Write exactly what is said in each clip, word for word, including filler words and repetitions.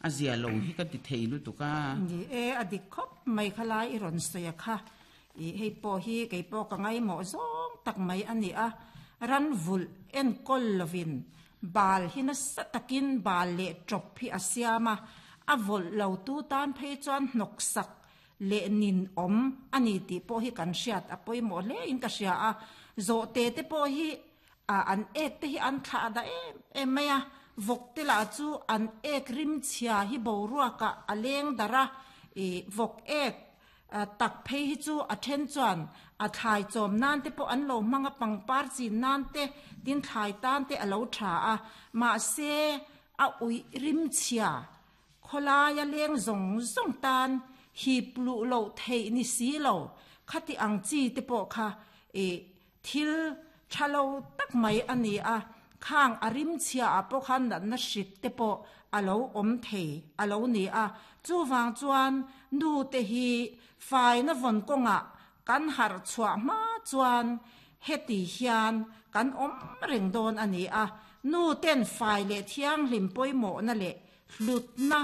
A zia lo hi ka ti thei lutuk a. Ni e, a dik khawp mai kha lai i rawn sawi a kha. I hei pawh hi kei pawh ka ngaimawh zawng tak mai a ni a. Ran vulh enkawl lovin bal hi nasa takin bal leh ṭawp hi a siam a, a vawlh lo tu tan phei chuan hnawksak leh nin awm a ni tih pawh hi kan hriat a pawimawh hle in ka hria a. Zawhte te pawh hi an ek te hi an thlah dah em em mai a, vawk te lah chu an ek rim chhia hi boruakah a leng darh a, ih vawk ek tak phei hi chu a then chuan a thlai chawm nan te pawh an lo hmang a, pangpar chin nan te tin thlai tan te a lo tha a, mahse a uih rim chhia khawlaia leng zawng zawng tan hip luh loh theih ni si lo khati ang chi te pawh kha ih thil tha lo tak mai a ni a, khang a rim chhia ah pawh khan natna hrik te pawh a lo awm thei a lo ni a, chuvang chuan nu te hi faina vawn kawngah kan harh chhuah hma chuan heti hian kan awm reng dawn a ni a, nu ten fai leh thianghlim pawimawhna leh hlutna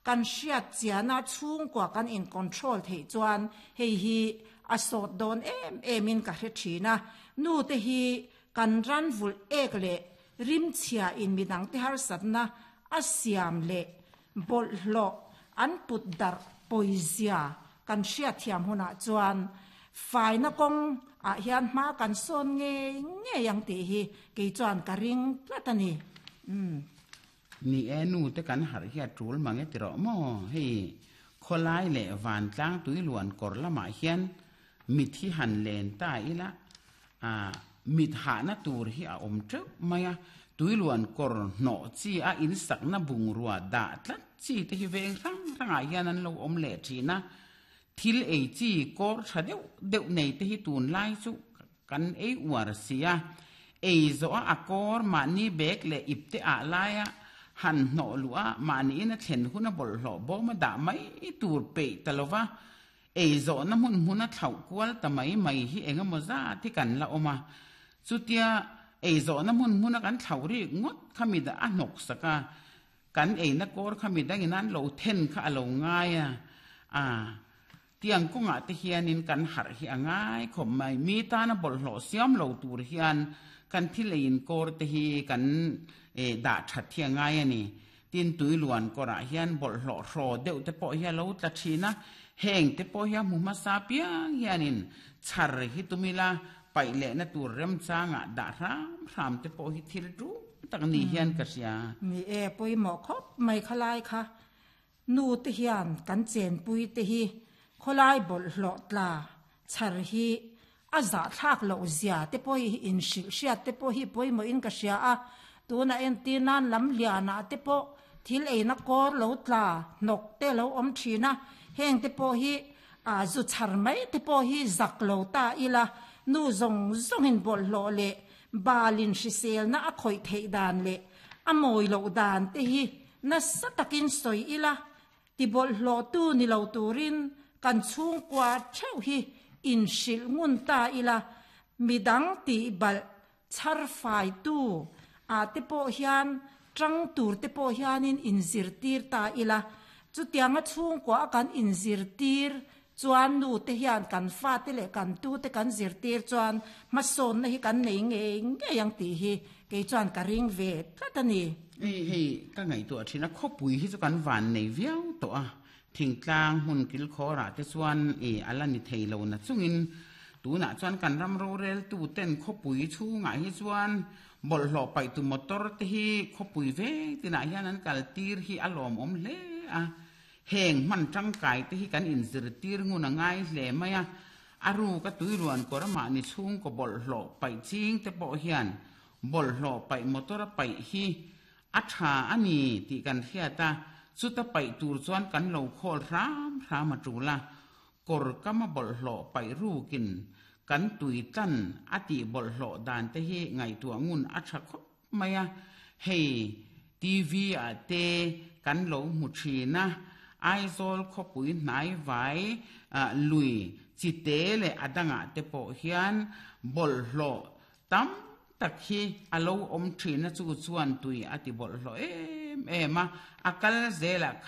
kan hriat chiana chhungkua kan in control theih chuan hei hi a sawt dawn em em in ka hre thin a, nu te hi kan ran vulh ek leh rim chhia in midang te harsatna a siam leh bawlhhlawh an put darh pawizia kan hriat thiam hunah chuan faina kawng ah hian hma kan sawn ngei ngei ang tih hi kei chuan ka ring tlat a ni. Umm. Ni e, nu te kan harh hi a tul mang e ti rawh maw? Hei khawlai leh vantlang tui luan kawr lamah hian mit hi han len ta ila, a mit hahna tur hi a awm teuh mai a, tui luan kawr hnawh chi a insakna bungrua dah tlat chi te hi veng hrang hrangah hian an lo awm leh thin a, thil ei chi kawr tha deuh deuh nei te hi tunlai chu kan ei uar si a, ei zawh a a kawr mahni bag leh ip te ah laia han hnawh luh a, mahniin a thlen hun a bawlhhlawh bawm a dah mai tur peih ta lo va, ei zawhna hmun hmun a thlauh kual ta mai mai hi eng emaw zat hi kan la awm a, chutia ei zawhna hmun hmun a kan thlauh rik ngawt kha mi dah a hnawk sak a, kan eina kawr kha mi dangin an lo then kha a lo ngai a, a tiang kawngah te hianin kan harh hi a ngai khawp mai, mi tana bawlhhlawh siam lo tur hian kan thil eiin kawr te hi kan dah that hi a ngai a ni. Tin tui luan kawrah hian bawlhhlawh hraw deuh te pawh hi a lo tla thin a, heng te pawh hi a hmu hmasa piang hianin chhar hi tum ila paih lehna tur remchangah dah hram hram te pawh hi thil tul tak ni hian ka hria. Ni e, pawimawh khawp mai khalai kha. Nu te hian kan chenpui te hi khawlai bawlhhlawh tla chhar hi a zahthlak loh zia te pawh hi inhrilh hriat te pawh hi pawimawhin ka hria a, tunah entir nan lam lianah te pawh thil eina kawr lo tla hnawk te lo awm thin a, heng te pawh hi a zu chhar mai te pawh hi zak lo ta ila, nu zawng zawngin bawlhhlawh leh balin hriselna a khawih theih dan leh a mawi loh dan te hi nasa takin sawi ila, ti bawlhhlawhtu ni lo turin kan chhungkua theuh hi inhrilh ngun ta ila, midang tih balh chhar faitu ah te pawh hian tang tur te pawh hianin inzirtir ta ila, chutianga chhungkua a kan inzirtir chuan nu te hian kan fate leh kan tu te kan zirtir chuan hmasawnna hi kan nei ngei ngei ang tih hi kei chuan ka ring ve tlat a ni. Hei hei ka ngaihtuah thin a, khawpui hi chu kan van nei viau tawh a, thingtlang hmun kilkhawrah te chuan i a la ni thei lo na chungin tunah chuan kan ram roreltu ten khawpui chhungah hi chuan bawlhhlawh paihtu motor te hi khawpui veng tinah hian an kal tir hi a lawmawm hle a, heng hman tangkai te hi kan inzirtir ngun a ngai hle mai a, a ruka tuiruan kawr mahni chhungkaw bawlhhlawh paih ching te pawh hian bawlhhlawh paih motor a paih hi a tha a ni tih kan hriat a, chuta paih tur chuan kan lo khawl hram hram a tul a, kawr kama bawlhhlawh paih rukin kan tui tlan a tih bawlhhlawh dan te hi ngaihtuah ngun a tha khawp mai a, hei T V ah te kan lo hmu thin a, Aizawl khawpui hnai vai lui chite leh a dangah te pawh hian bawlhhlawh tam tak hi a lo awm thin a, chu chuan tui a ti bawlhhlawh em em em a, a kal zelah.